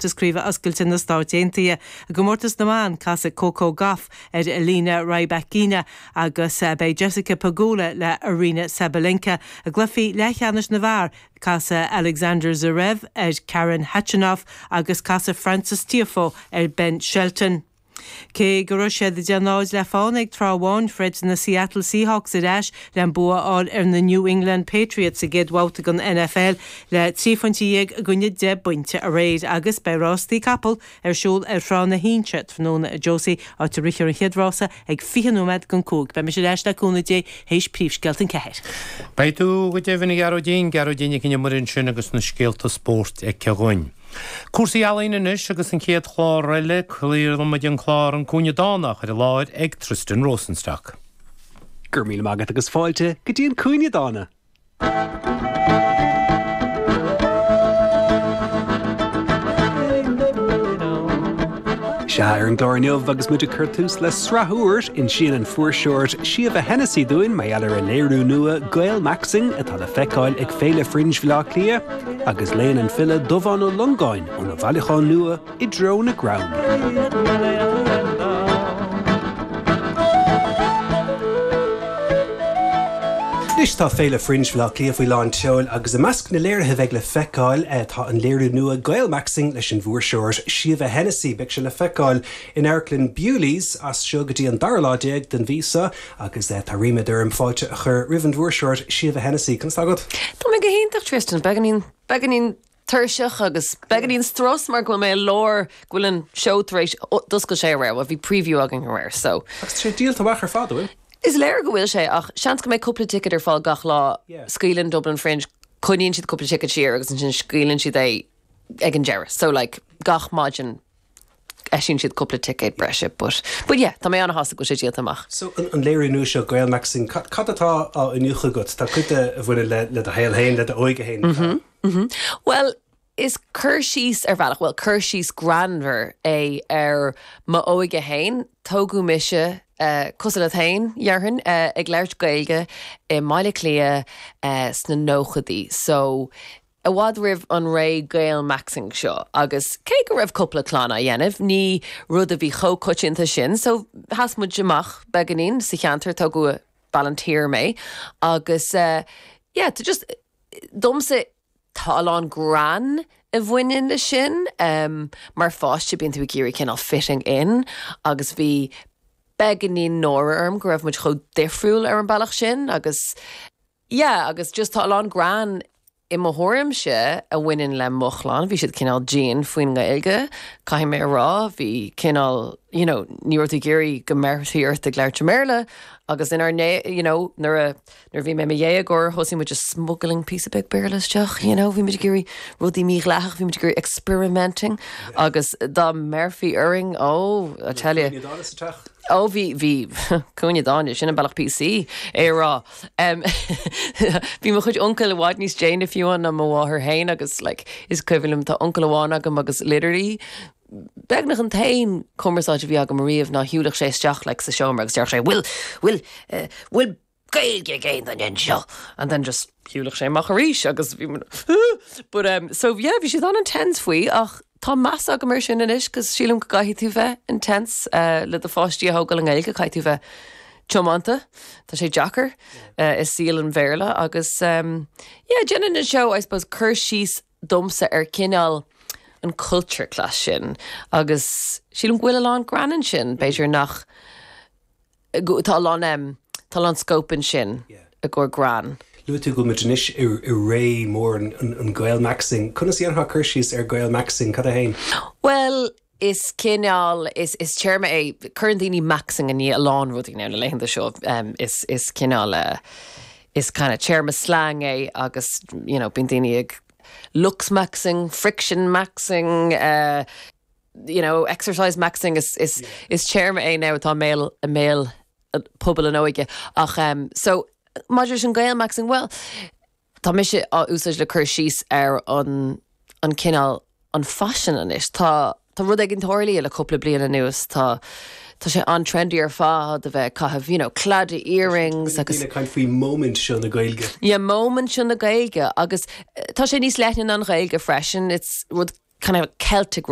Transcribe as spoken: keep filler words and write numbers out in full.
gcomórtas Craoibhe Oscailte na Stáit Aontaithe. I gcomórtas na mban casfaidh Coco Gauff ar Elena Rybakina agus eh, beidh Jessica Pegula le Aryna Sabalenka. I gcluichí leathcheannais na bhfear casfaidh Alexander Zverev ar Karen Khachanov agus casfaidh Frances Tiafoe ar Ben Shelton. Cé go raibh siad deich náid le fána ag tráth amháin throid na Seattle Seahawks ar ais le bua a fháil ar na New England Patriots sa gcéad bhabhta den NFL le trí phointe déag i gcoinne deich bpointe aréir agus beidh rástaí capall ar siúl ar Thrá na hInse tráthnóna a Josie áit a rithfear an chéad rása ag fiche nóiméad don cúig. Beidh mise ar ais le cúnamh Dé théis príomhscéalta an ceathair. Beidh tú go deimhin a Ghearóidín Gearóidín Nic an Iomaire sin agus na scéalta spóirt aici dhúinn. Cúrsaí ealaíne anois agus an chéad chlár eile craolfaimid an clár an Cúinne Dánach ar an láthair ag Tristan Rosenstock. Gur mí agat agus fáilte go dtí an Cúinne Dána. Sea ar an gclár inniu agus muid ag cur tús le sraith úr insíonn an fuirseoir Síomha Hennessy dúinn mar gheall ar a léiriú nua Gaelmaxxing atá le feiceáil ag Féile Fringe Bhaile Átha Cliath agus léann an file Dubhán Ó Longáin óna bhailiúchán nua i dtreo na gcrann. Anois tá Féile Fringe Bhaile Átha Cliath faoi lán tseoil agus i measc na léirithe bheidh le feiceáil eh, tá an léiriú nua Gaelmaxxing leis an bhfuirseoir Síomha Hennessy beidh sé le feiceáil in Amharclann Bewley's as seo go dtí an dara lá déag den mhí seo agus eh, tá ríméad orm fáilte a chur roimh an bhfuirseoir Síomha Hennessy Conas atá agat? Tá mé go hiontach Tristan beagáinín beagáinín tuirseach agus beagáinín strus mar go bhfuil mé i lár go bhfuil an seó tar éis d'oscail sé aréir bhí preview againn aréir so. Agus sé díolta amach ar fad bhfuil? Is léir go bhfuil sé ach seans go mbeidh cúpla ticket ar fáil gach lá Yeah. scaoileann Dublin Fringe coinníonn siad cúpla ticket siar agus ansin scaoileann siad é ag an deireadh. So like gach maidin eisíonn siad cúpla ticket breise, but but yeah, tá mé an-sásta go sé díolta amach. So an, an léiriú nua seo Gaelmaxxing cad, cad atá á iniúchadh agat Tá cuid a bhaineann le le do shaol féin le d'óige féin. Mm -hmm. Mm -hmm. Well, is cur síos ar bhealach, well cur síos greannmhar é ar m'óige féin, tógadh mise uh, cosúil leat féin déarfainn uh, ag labhairt Gaeilge i mBaile Átha Cliath uh, sna nóchaidí. So i bhfad roimh an ré Gaelmaxxing seo agus cé go raibh cúpla clann á dhéanamh, ní rud a bhí chomh coitianta sin, so sheas muid amach beagáinín sa cheantar tógadh Ballinteer mé agus uh, yeah, to just domsa tá a lán greann a bhaineann le sin um, mar pháiste bíonn tú ag iarraidh cineál fitting in agus bhí beagáinín náire orm go raibh muid chomh difriúil ar an bealach sin agus yeah, agus just tá a lán greann i mo thuairimse a bhaineann le mo chlann, bhí siad cineál dian faoin nGaeilge, caithfidh mé a rá, bhí cineál you know, ní raibh tú ag iarraidh go mbeifí ort ag labhairt Béarla agus inár né you know, nuair a nuair bhí mé i mo dhéagóir thosaigh muid just smuggling piece beag Béarla isteach, you know, bhí muid ag iarraidh rudaí mídhleathach, bhí muid ag iarraidh experimenting agus dá mbeifí orainn ó I tell you. Ó bhí bhí cúinne dáine sin an bealach PC é rá. Um, bhí mo chuid uncail i bhfad níos déine fiú ná mo mháthair féin agus like, is cuimhin liom tá uncail amháin agam agus literally beagnach an t-aon cumarsáid a bhí agam riamh ná shiúlfadh sé isteach like, sa seomra agus deir sé bhfuil bhfuil uh, bhfuil Gaeilge ag aon duine anseo and then just shiúlfadh sé amach arís agus bhí but um, so yeah bhí siad an-intense faoi ach tá meas agam air sin anois cos sílim go gcaithfidh tú bheith intense uh, le do pháistí a thógáil i nGaeilge caithfidh tú bheith tiomanta Tá sé deacair uh, i saol an Bhéarla agus um, yeah, déanann an seó I suppose cur síos domsa ar cineál an culture clash sin agus sílim go bhfuil a lán greann ansin b'fhéidir nach go- tá a lán um, tá a lán scope ansin Yeah. i gcomhair greann. Luaigh tú go bhfuil anois i i ré mór an, an, an Gaelmaxxing. Conas dhéanfá cur síos ar Gaelmaxxing cad é féin? Well, is cineál is, is téarma é cuireann daoine maxing i ndiaidh a lán rudaí na laethanta seo um, is, is cineál uh, is kind of téarma slang é agus you know, bíonn daoine ag looksmaxxing, friction maxing, uh, you know, exercise maxing is, is, yeah. is téarma é now atá i mbéal i mbéal pobal an óige ach um, so maidir leis an Gaelmaxxing well tá mise á úsáid le cur síos ar an an cineál an fashion anois tá tá rud éigin tarlaithe le cúpla bliain anuas tá tá sé an-trendy ar fad a bheith ag caitheamh you know, claddagh earrings agus Daoine caint faoi moment seo na Gaeilge. Yeah, moment seo na Gaeilge agus eh, tá sé níos leithne ná an Ghaeilge freisin it's rud kind of Celtic